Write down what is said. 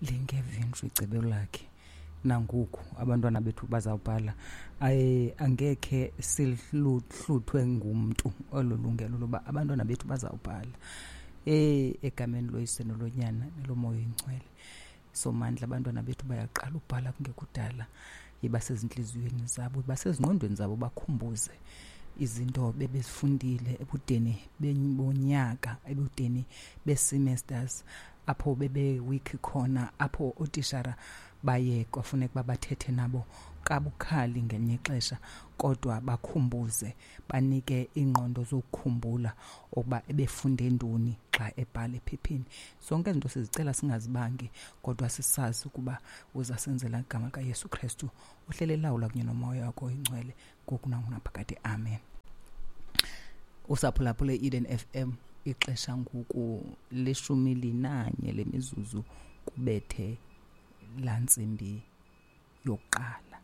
Lingevintshi icebo lakhe. Nangoku abantwana bethu bazawubhala. Aye, angekhe sihluthwe ngumntu olo lungelo loba abantwana bethu bazawubhala. Egameni loYise noloNyana neloMoya oyiNgcwele. Somandla, abantwana bethu bayaqala ubhala kungekudala. Yiba sezintliziyweni zabo, yiba sezingqondweni zabo, bakhumbuze izinto bebezifundile ebudeni bonyaka, ebudeni bee-semesters, apho bebe-weak khona, apho ootishara baye kwafuneka uba bathethe nabo kabukhali ngelinye ixesha, kodwa bakhumbuze, banike iingqondo zokukhumbula ukuba ebefunde ntoni xa ebhala ephepheni. Zonke ezi zinto sizicela singazibangi, kodwa sisazi ukuba uzasenzela igama likaYesu Krestu uhlele elawula kunye noMoya wakho oyiNgcwele ngoku nangonaphakade. Amen. Usaphulaphule i-Eden FM, ixesha ngoku 11 lemizuzu kubethe laa ntsimbi yokuqala.